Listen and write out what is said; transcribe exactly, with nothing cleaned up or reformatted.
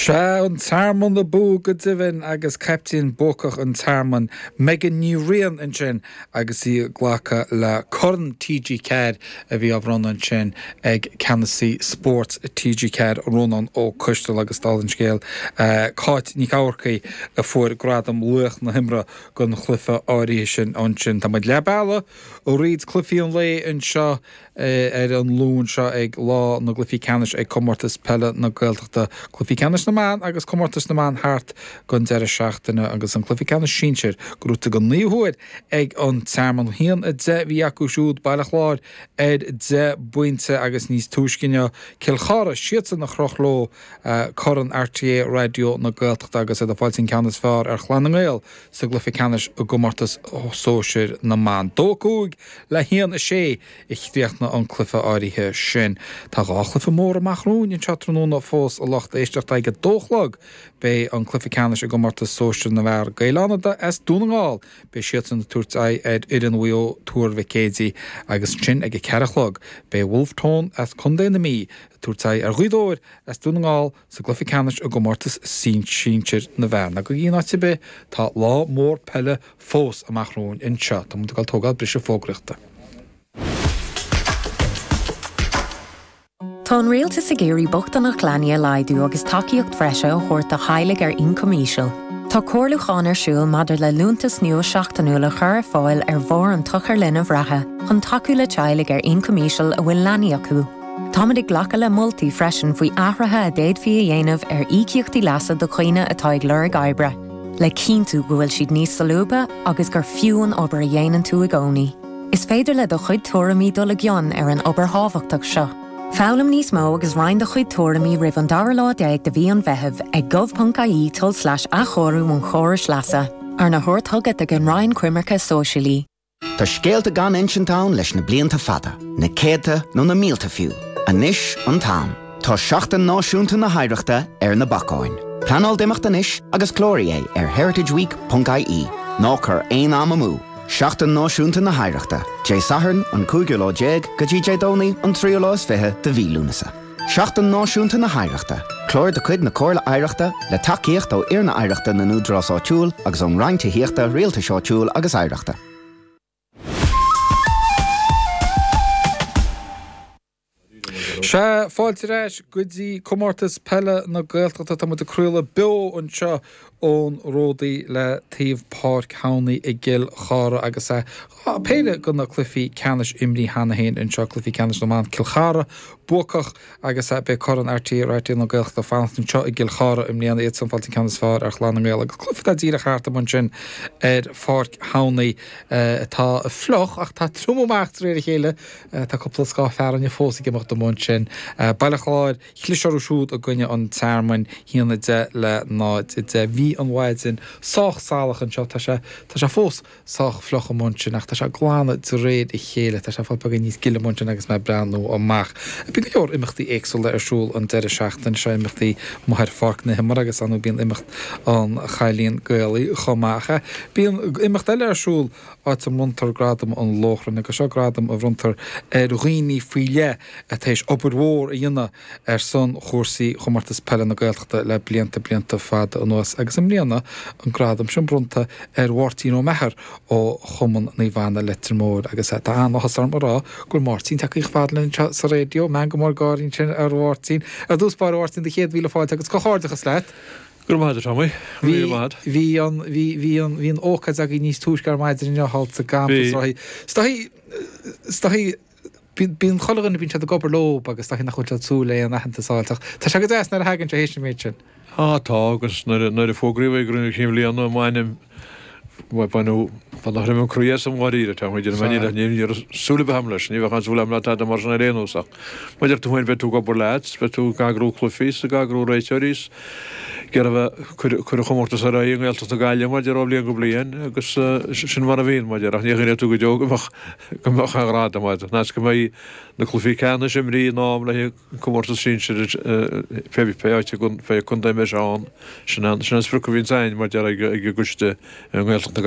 Sea, an Tearmann abú go deimhin agus caiptín buacach an Tearmainn, Megan Ní Riain ansin agus í ag glacadh le Corn TG Ceathair a bhí á bhronnadh ansin ag Ceannasaí Spóirt TG Ceathair, Rónán Ó Coistealbha agus dála an scéil, Cáit Nic Eamharcaigh a fuair gradam Laoch na hImeartha don chluiche áirithe sin ansin. Tá muid leath bealaigh thríd cluichí an lae anseo ar an Luan seo ag lá na gcluichí ceannais ag Comórtas Peile na Gaeltachta, Cluichí Ceannais na mBan agus Comórtas na mBan thart don deireadh seachtaine agus an cluiche ceannais sinsir gnóthaithe don naoú huair ag an Tearmann. A haon a deich a bhí acu siúd, Baile Chláir ar deich bpointe agus níos túisce inniu Cill Chartha, siadsan a chroch leo Corn RTÉ Raidió na Gaeltachta agus iad ag fáilt an ceann is fearr ar Chlann na nGael sa gcluiche ceannais i gcomórtas sóisir na mban. Dó a cúig le haon a sé a chríochnaigh an cluiche áirithe sin. Tá dhá chluiche mór amach romhainn anseo tráthnóna fós a lucht éisteachta. Ag a dó a chlog beidh an cluiche ceannais i gcomórtas sóisir na bhfear, Gaeil Fhánada as Dún na nGall, beidh siadsan ag tabhairt aghaidh ar fhoireann Mhaigh Eo Tuar Mhic Éadaigh agus ansin ag a ceathair a chlog beidh Wolfe Tone as Contae na Mí ag tabhairt aghaidh ar Ghaoth Dobhair as Dún na nGall sa gcluiche ceannais i gcomórtas sinsir na bhfear. Ná gabhaigí in áit ar bith, tá lá mór peile fós amach romhainn anseo. Tá muid ag dul tógáil briseadh fógraíochta. Tá an rialtas ag iarraidh bochtaineacht leanaí a laghdú agus tacaíocht bhreise a thabhairt do theaghlaigh ar ioncam íseal. Tá comhairliúchán ar siúl maidir le liúntas nua seachtainiúil a chur ar fáil ar bharr an tsochair linbh reatha chun tacú le teaghlaigh ar ioncam íseal a bhfuil leanaí acu. Táimid ag glacadh le moltaí freisin faoi athruithe a d'fhéadfaí a dhéanamh ar íocaíochtaí leasa do dhaoine atá ag lorg oibre, le cinntiú go bhfuil siad níos solúbtha agus gur fiú an obair a dhéanann tú i gcónaí. Is féidir le do chuid tuairimí dul i gcion ar an obair thábhachtach seo. Foghlaim níos mó agus roinn do chuid tuairimí roimh an dara lá déag de mhí an Mheithimh ag gov.ie tulslais athchóiriú an chórais leasa, arna thabhairt chugat ag an Roinn Coimirce Sóisialaí. Tá scéalta gan insint ann leis na blianta fada, na céadta nó na mílte fiú. Anois an t-am. Tá Seachtain Náisiúnta na hOidhreachta ar na bacáin. Pleanáil d'imeacht anois agus cláraigh é ar heritageweek ponc ie. Ná cuir aon am amú! Seachtain Náisiúnta na hOidhreachta, Dé Sathairn an cúigiú lá déag go dtí Dé Domhnaigh an tríú lá is fiche de mhí Lúnasa. Seachtain Náisiúnta na hOidhreachta, clár de chuid na Comhairle Oidhreachta le tacaíocht ó Fhoirne Oidhreachta na nÚdarás Áitiúil agus ón Roinn Tithíochta, Rialtais Áitiúil agus Oidhreachta. Sea, fáilte ar ais go dtí Comórtas Peile na Gaeltachta. Tá muid ag craoladh beo anseo ón Ródaí le taobh Páirc Thamhnaigh i gCill Chartha agus péire de na cluichí ceannais imrithe cheana féin anseo, cluichí ceannais na mban, Cill Chartha buacach agus beidh Corn RTÉ Raidió na Gaeltachta fanacht anseo i gCill Chartha i mbliana, iadsan ag fáilt an ceann is fearr ar Chlann na nGael agus cluiche atá díreach thart amuigh ansin ar Pháirc Thamhnaigh atá fliuch ach tá ag triomú amach de réir a chéile. Tá cúpla scáth fearthainne fós ag imeacht amuigh ansin. Baile Chláir, chlis orthu siúd i gcoinne an Tearmainn, haon a deich le náid a deich. Bhí an mhaidin sách salach anseo, tá sé, tá sé fós sách fliuch amuigh ansin ach tá sé ag glanadh de réir a chéile. Tá sé ag fáil beagán níos gile amuigh ansin agus mé ag breathnú amach. Bíonn go leor imeachtaí éagsúla ar siúl an deireadh seachtaine seo, imeachtaí amuigh ar Pháirc na hImeartha agus ar ndóigh bíonn imeacht an Chailín Gaelaigh chomh maith. Ach bíonn imeacht eile ar siúl áit a mbronntar Gradam an Lóchrainn, agus seo gradam a bhronntar ar dhaoine faoi leith atá théis obair mhór a dhéanamh ar son chúrsaí Chomórtas Peile na Gaeltachta le blianta, blianta fada anuas. Agus i mbliana, an gradam sin bronnta ar Mháirtín Ó Meachair ó Chumann Naomh Anna Leitir Móir. Agus tá an-áthas orm a rá go bhfuil Máirtín tagtha chomh fada linn anseo sa raidió. Meangadh mór gáirí ansin ar Mháirtín. Ar dtús báire, a Mháirtín, do chéad mhíle fáilte agus comhghairdeachas leat! Go raibh maith agat, a Tommy. Go raibh míle maith agat. Bhí an, bhí, bhí an, bhí an ócáid agaibh níos túisce ar maidin inniu thall sa gcampas. Bhí. Is dóigh, is dóigh, bíonn, bíonn chuile dhuine, bíonn siad ag obair leo agus is dóigh nach bhfuil siad ag súil le aon aitheantas a fháil ach tá sé go deas nuair a thagann sé théis an méid sin. Á tá, agus nuair a, nuair a fógraíodh é i gcruinniú cinn bhliana m'ainm, baineadh, baineadh throim an croí asam dháiríre, tá muid ar an ní, ní raibh súil ar bith agam leis, ní bheadh aon súil agam le tada mar sin ar aon nós ach mar a deir tú féin beidh tú ag obair leat, beidh tú ag eagrú cluichí is ag eagrú réiteoirí is ag iarraidh a bheith ag cur an chomórtais ar aghaidh i nGaeltacht na Gaillimhe mar a déarfá ó bhliain go bliain agus sin mar a bhíonn mar a déarfá ach ní chuimhneoidh tú go deo go mbeadh go mbeadh aon ghradam agat ná is go mbeidh na cluichí ceannais imrithe in am le haghaidh an comórtas sinsir pé pé áit pé contae a mbeidh sé ann sin an sin an sprioc a bhíonns againn mar a déarfá ag an gcoiste i nGaeltacht na